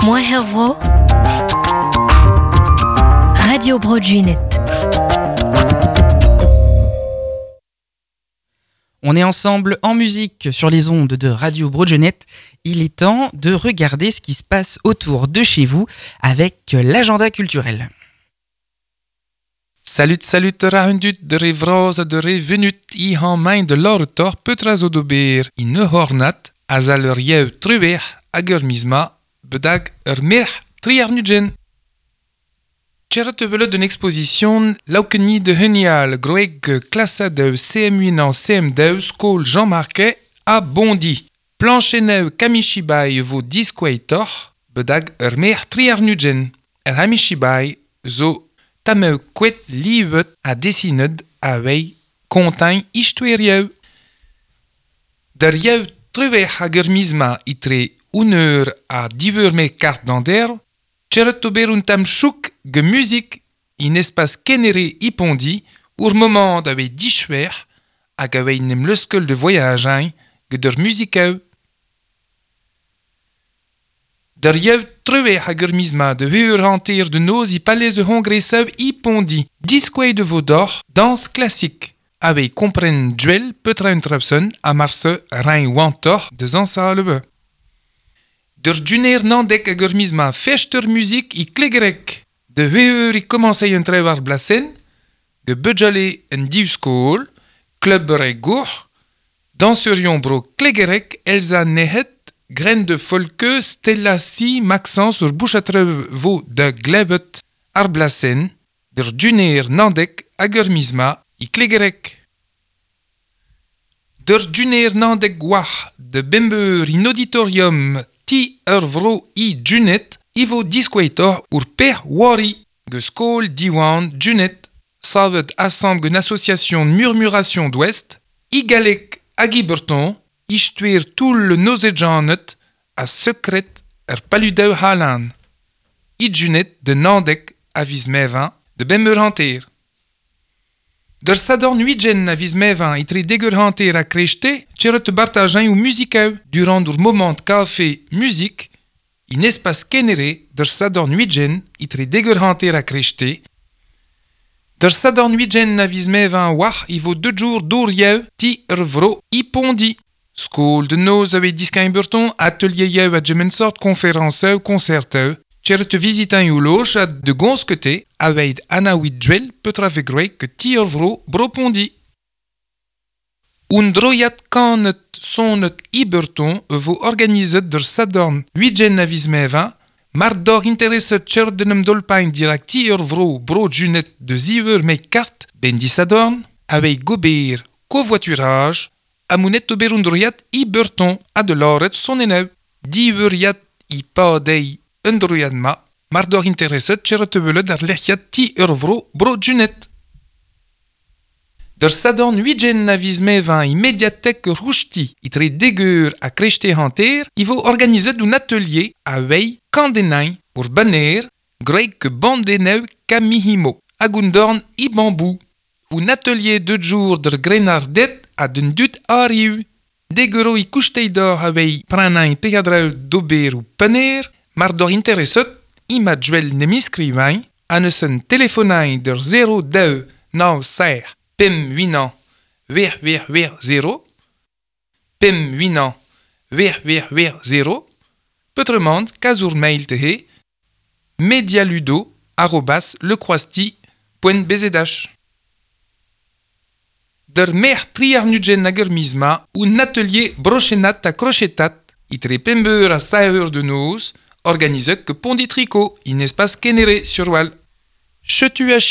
Moue'h vro, Radio Bro Junet. On est ensemble en musique sur les ondes de Radio Broadjenet. Il est temps de regarder ce qui se passe autour de chez vous avec l'agenda culturel. Salut, salut rahundut de re vraz de re venut i han main de l'ortor petra zo d'ober i ne hornat azal ur yev truer hag ur mizma bedag ur merc'h tri ar nudgen. Tcheret velet d'un exposition laukeni de henial groeg klasa de CM1 an CM2 skol Jean Marquet a Bondi. Plancheneu kamishibai vo diskoueitor bedag ur merc'h tri ar nudgen. Er hamishibai zo tameu kouet livet a desinet a wei kontain istuerieu. Der yev truer hag ur mizma itre uneur a diveur me kart d'an der, Tcheret ober un tam chouk ge muzik in espas kenere ipondi ur moment a wei dichwer hag a wei nem leuskel de voyage ge der muzikeu. Der yev truer hag ur mizma de heur hanter de noz i palais hongreseu ipondi diskwei de vaudor danse classique a wei kompren duel petra un trapson a marse rein wantor de zansalebe. Der duner nandek hag ur mizma fester muzik i klegerek. De heur i komansei un trewar blasen, ge budjale un div skol, club re gour, dansurion bro klegerek Elsa Nehet, graine de folke Stella Si Maxence ur bouchatre vo de glebet ar blasen, der duner nandek hag ur mizma i klegerek. Der duner nandek gwach de bembeur in auditorium ti ur vro i junet i vo diskoueitor ur per wari ge skol diwan junet savet assemble une association murmuration d'ouest i galek hag i berton i stuer tout le nozejanet a secret er paludeu halan. I junet de nandek a viz mevin de bemeur hanter. Der sadorn huigen a viz mevin itre degur hanter a krechte, tcheret bartajain ou muzikeu durant ur moment café musique, in espas kenere der sadorn huigen itre degur hanter a krechte. Der sadorn huigen a viz mevin wach i vo deux jours d'our yev ti ur vro i pondi. Skol de noz a wei diskain burton, atelier yev a gemensort, conférence concert Tcheret visitan ou loch a de gonskete a weid anaouid duel petra vegroek ke ti ur vro bro pondi. Un droiat kanet sonet i burton vo organizet der sadorn huigen a viz mevin, mar dor intereset tcheret de nem dolpain dirak ti ur vro bro junet de ziweur me kart ben di sadorn, a wei gober covoiturage, a mounet ober un droiat i burton a de loret son eneu. Diweur yat i pa dei un droiat ma, mar dor intereset tcheret velet ar lec'hiat ti ur vro bro junet. Der sadorn huigen a viz mevin i mediatek rouchti itre degur a krechte hanter, i vo organizet un atelier a wei kandenain ur banner groeg ke bandeneu kamihimo, hag un dorn i bambou. Un atelier de jour der grenardet a den dut ariu. Deguro i kousteidor a wei pranain pegadrau d'ober ou paner, mar dor intereset i ma duel nem inscrivain an eus un telefonain der 0 2 9 ser pem 8 an wer wer wer 0 pem 8 an wer wer wer 0 petrement kazour mail te he medialudo arobas lecroisti.bzh. Der mer tri ar nudgen hag ur mizma un atelier brochenat a crochetat itre pembeur a saeur de noz organizet ke pondi tricot in espas kenere sur wal. Chetu a